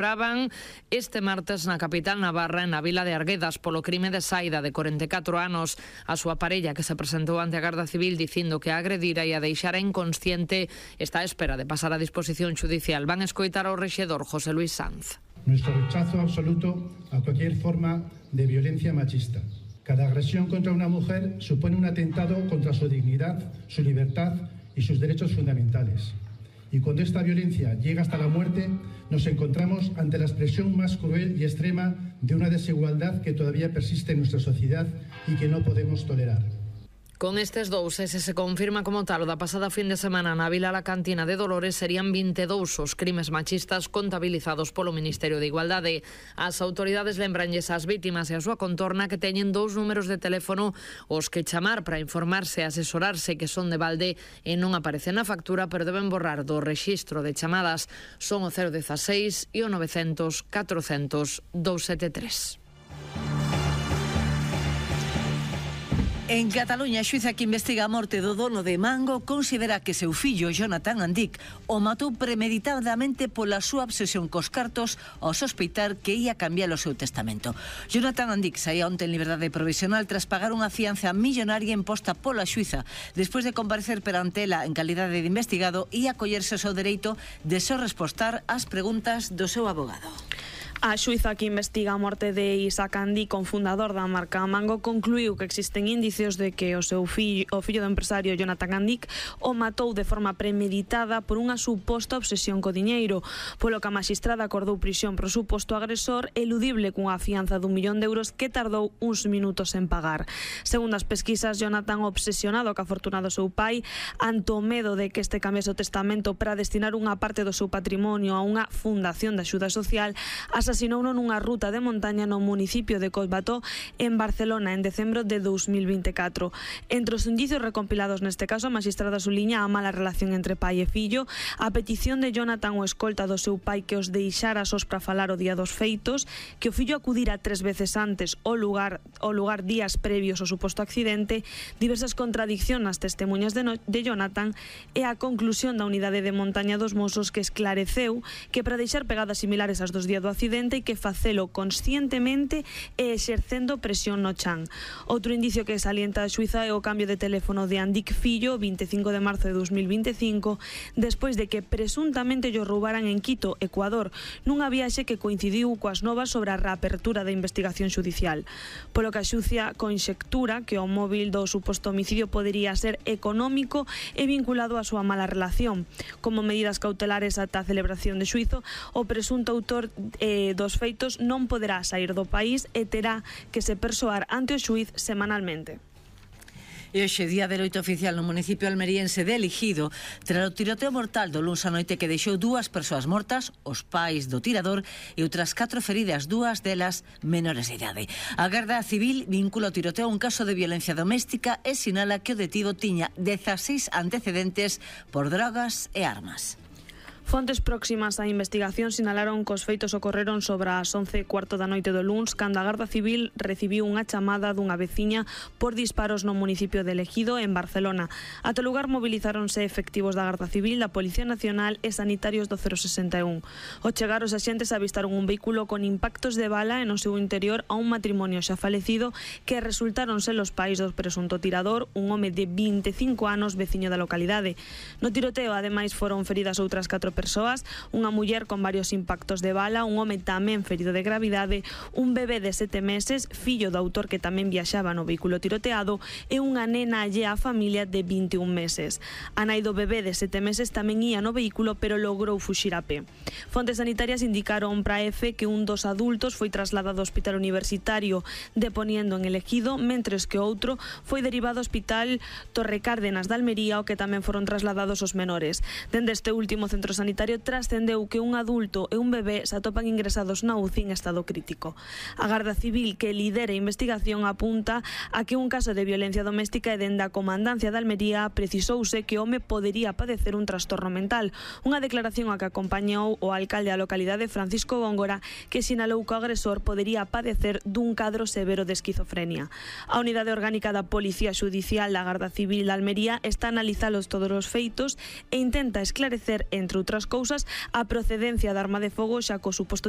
Celebraban este martes na capital navarra, na vila de Arguedas, polo crime de Saida, de 44 anos. A súa parella, que se presentou ante a Garda Civil dicindo que a agredira e a deixara inconsciente, está á espera de pasar a disposición judicial. Van escoitar ao rexedor José Luis Sanz. Nuestro rechazo absoluto a cualquier forma de violencia machista. Cada agresión contra una mujer supone un atentado contra su dignidad, su libertad y sus derechos fundamentales. Y cuando esta violencia llega hasta la muerte, nos encontramos ante la expresión más cruel y extrema de una desigualdad que todavía persiste en nuestra sociedad y que no podemos tolerar. Con estes dous, ese se confirma como tal o da pasada fin de semana na Vila Alacantina de Dolores, serían 22 os crimes machistas contabilizados polo Ministerio de Igualdade. As autoridades lembranlles ás vítimas e a súa contorna que teñen 2 números de teléfono os que chamar para informarse e asesorarse, que son de balde e non aparecen na factura, pero deben borrar do rexistro de chamadas. Son o 016 e o 900 400 273. En Cataluña, a xuíza que investiga a morte do dono de Mango considera que seu fillo, Jonathan Andic, o matou premeditadamente pola súa obsesión cos cartos ao sospeitar que ia cambiar o seu testamento. Jonathan Andic saía onte en liberdade provisional tras pagar unha fianza millonaria imposta pola xuíza despois de comparecer perante ela en calidade de investigado e acollerse ao seu dereito de só respostar ás preguntas do seu abogado. A xuíza que investiga a morte de Isaac Andic, cofundador da marca Mango, concluiu que existen indicios de que o fillo do empresario Jonathan Andic o matou de forma premeditada por unha suposta obsesión co diñeiro, polo que a maxistrada acordou prisión pro suposto agresor eludible cunha fianza d'1 millón de euros que tardou uns minutos en pagar. Segundo as pesquisas, Jonathan, obsesionado ca fortuna do seu pai, ante o medo de que este cambiase o testamento para destinar unha parte do seu patrimonio a unha fundación de axuda social, asasinouno nunha ruta de montaña no municipio de Collbató, en Barcelona, en decembro de 2024. Entre os indicios recompilados neste caso, a magistrada suliña a mala relación entre pai e fillo, a petición de Jonathan o escolta do seu pai que os deixara sós para falar o día dos feitos, que o fillo acudira 3 veces antes ao lugar días previos ao suposto accidente, diversas contradiccións nas testemunhas de Jonathan e a conclusión da unidade de montaña dos Mossos, que esclareceu que para deixar pegadas similares ás dos días do accidente e que facelo conscientemente e exercendo presión no chan. Outro indicio que salienta a xuíza é o cambio de teléfono de Andic fillo 25 de marzo de 2025, despois de que presuntamente llo roubaran en Quito, Ecuador, nunha viaxe que coincidiu coas novas sobre a reapertura da investigación xudicial. Polo que a xuíza conxectura que o móvil do suposto homicidio podería ser económico e vinculado á súa mala relación. Como medidas cautelares ata a celebración de xuízo, o presunto autor dos feitos non poderá sair do país e terá que se persoar ante o xuíz semanalmente. E hoxe, día de loito oficial no municipio almeriense de Eligido, tras o tiroteo mortal do luns a noite que deixou 2 persoas mortas, os pais do tirador, e outras 4 feridas, 2 delas menores de idade. A Garda Civil vincula o tiroteo a un caso de violencia doméstica e sinala que o detido tiña 16 antecedentes por drogas e armas. Fontes próximas á investigación sinalaron que os feitos ocorreron sobre as 11:15 da noite do luns, cando a Garda Civil recibiu unha chamada dunha veciña por disparos no municipio de Elegido, en Barcelona. Ata o lugar mobilizáronse efectivos da Garda Civil, da Policía Nacional e sanitarios do 061. Ao chegar, os axentes avistaron un vehículo con impactos de bala e no seu interior a un matrimonio xa falecido que resultaron ser os pais do presunto tirador, un home de 25 anos veciño da localidade. No tiroteo, ademais, foron feridas outras 4 persoas, unha muller con varios impactos de bala, un home tamén ferido de gravidade, un bebé de 7 meses, fillo do autor que tamén viaxaba no vehículo tiroteado, e unha nena allea á familia de 21 meses. A nai do bebé de 7 meses tamén ía no vehículo, pero logrou fuxir a pé. Fontes sanitarias indicaron para EFE que un dos adultos foi trasladado ao Hospital Universitario de Poniendo en Elegido, mentres que outro foi derivado ao Hospital Torre Cárdenas de Almería, ao que tamén foron trasladados os menores. Dende este último centro sanitario trascendeu que un adulto e un bebé se atopan ingresados na UCI en estado crítico. A Garda Civil, que lidera a investigación, apunta a que un caso de violencia doméstica e dende a Comandancia de Almería precisouse que o home podería padecer un trastorno mental. Unha declaración a que acompañou o alcalde da localidade, Francisco Góngora, que sinalou que o agresor podería padecer dun cadro severo de esquizofrenia. A unidade orgánica da Policía Xudicial da Garda Civil de Almería está a analizalos todos os feitos e intenta esclarecer, entre outras cousas, a procedencia da arma de fogo, xa co suposto